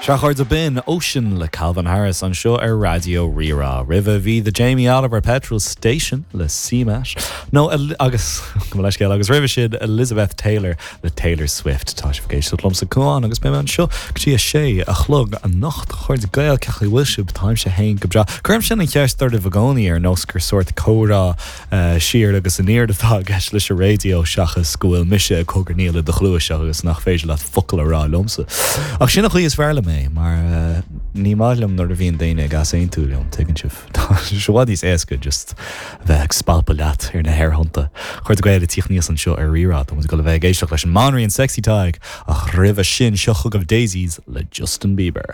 Sea, a chairde, b'in Ocean le Calvin Harris anseo ar Raidió Rí-Rá. Roimhe bhí The Jamie Oliver Petrol Station le CMAT, nó agus, gabh mo leithscéal, agus roimhe sin Elizabeth Taylor le Taylor Swift. Tá sibh ag éisteacht liomsa Cuán agus beidh mé anseo go dtí a sé a chlog anocht. A chairde Gael, cén chaoi a bhfuil sibh? Táimse féin go breá. Cuirimse an cheist oraibh i gcónaí ar nós gur sórt comhrá siar agus aniar atá i gceist leis an raidió seachas go bhfuil mise ag cogarnaíl i do chluais agus nach féidir leat focal a rá liomsa. Ach sin an chaoi is fearr liom é mar ní maith liom nuair a bhíonn daoine ag easaontú liom, tuigeann sibh. Tá sé i bhfad níos éasca just a bheith ag spalpadh leat ar na haerthonnta. A chairde Gael ag tíocht aníos anseo ar Rí-Rá, tá muid ag dul a bheith ag éisteacht leis an mBanríon Sexy Tadhg ach roimhe sin seo chugaibh Daisies le Justin Bieber.